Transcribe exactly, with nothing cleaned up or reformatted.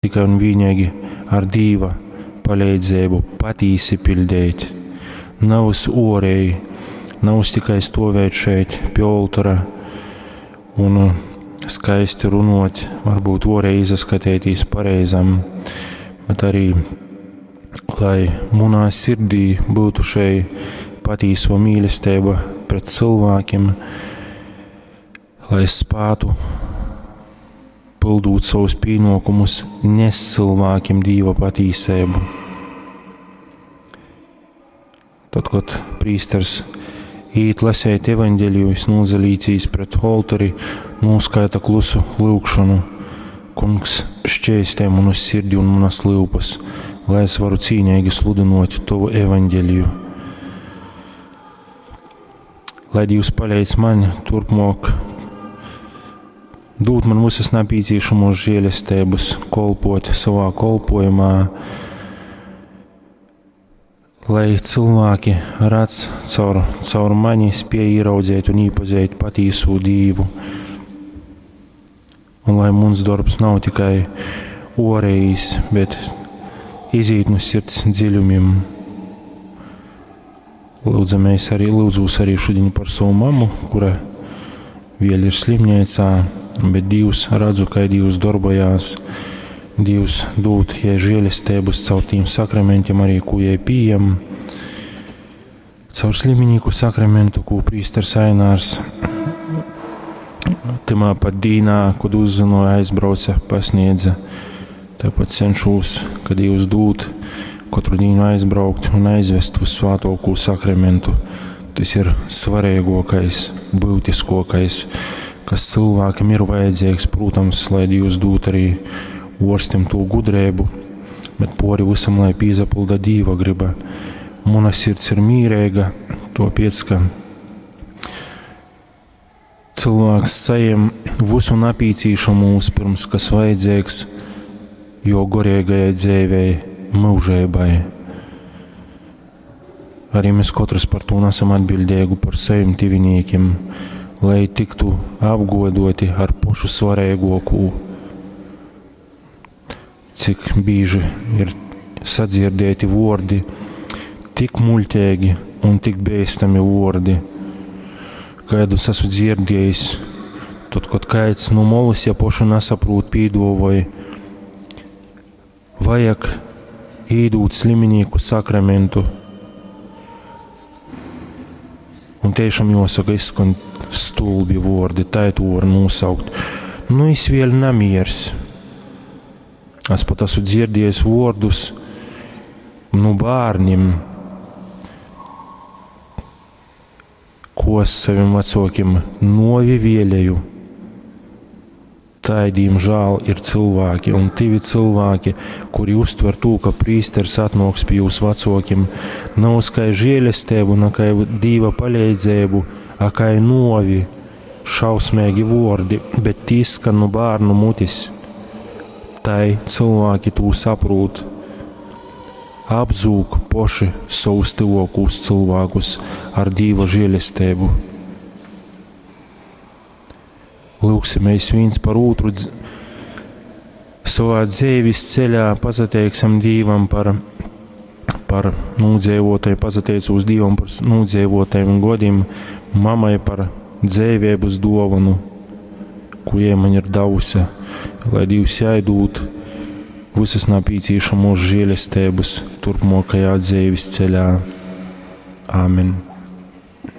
Tikai un vīneigi ar Dīva paleidzeibu patīsi piļdeit. Navys uoreji, navys tikai stovēt šeit pie oltora un skaisti runot, varbūt uoreji izaskatīties pareizam, bet arī, lai munā sirdī būtu šei patīso mīlestība pret cilvēkiem, lai es spētu pildūt savus pienākumus, nest cilvēkiem Dīva patīsību. Tad, kad prīsters īt lasēt evaņģeliju, es nozalīcīs pret oltori, noskaita klusu lūgšanu. Kungs, šķēstē manu sirdi un manas lūpas, lai es varu cīnīgi sludinot Tavu evaņģeliju. Lai Dievs palīdz man turpmāk dūt man visas nepieciešamos žēlestības, kolpot savā kolpojumā, lai cilvēki redz caur, caur mani, spēj ieraudzīt un iepazīt patīso Dievu. Un lai mums darbs nav tikai orējs, bet iziet no sirds dziļumiem. Lūdzamies arī, lūdzos arī šodien par savu mammu, kura vēl ir slimnīcā, bet Dievs redzu, kā Dievs darbojās. Dievs dod jai žēlestības caur tiem sakramentiem arī, ko jai pieejam. Caur sliminīku sakramentu, ko prīsters Ainārs timā pat dīnā, kad uzzināja, aizbrauca, pasniedza. Tāpat cenšos, ka Dievs dod katru dienu aizbraukt un aizvest uz svātokū sakramentu. Tas ir svarīgākais, būtiskākais, kas cilvēkam ir vajadzīgs, protams, lai Dievs dod arī orstim to gudrību, bet pori visam, lai pīzapilda Dīva griba. Muna sirds ir mīrīga, topiec, ka cilvēks sajem visu napīcīšamo pirms, kas vajadzīgs, jo gorīgajai dzīvei, mūžībai. Arī mēs katrs par to nesam atbildīgi par saviem tuviniekiem, lai tiktu apgodoti ar pašu svarīgāko. Cik bieži ir sadzirdēti vārdi, tik muļķīgi un tik bīstami vārdi, kādus esmu dzirdējis, tad, kad kāds no molas, ja pošu nesaprot, pīdovoj, vajag īdūt sliminīku sakramentu. Un tiešām jāsaka, izskan stulbi vārdi, tā to var nosaukt. Nu, es vēl namiers. Es pat esmu dzirdējis vārdus nu bērniem, ko es saviem vecākiem novi vēlēju. Tā, diemžēl, ir cilvēki un tivi cilvēki, kuri uztver to, ka prīsters atnāks pie jūsu vecākiem, nav kā žēlestību, nav kā Dīva palīdzību, a kā novi, šausmīgi vārdi, bet tī skan no bērnu mutis. Tai cilvēki to saprot. Apzūk poši savus tuvākos cilvēkus ar Dīva žēlestību. Lūksimies viens par otru savā dzīves ceļā, pasateiksim Dievam par, par nūdzēvotajiem, pasateicos Dievam par nūdzēvotajiem godiem, mamai par dzīvības dāvanu, ko jai man ir devusi, lai Dievs jai dod visas nepieciešamos žēlestības turpmākajā dzīves ceļā. Āmen.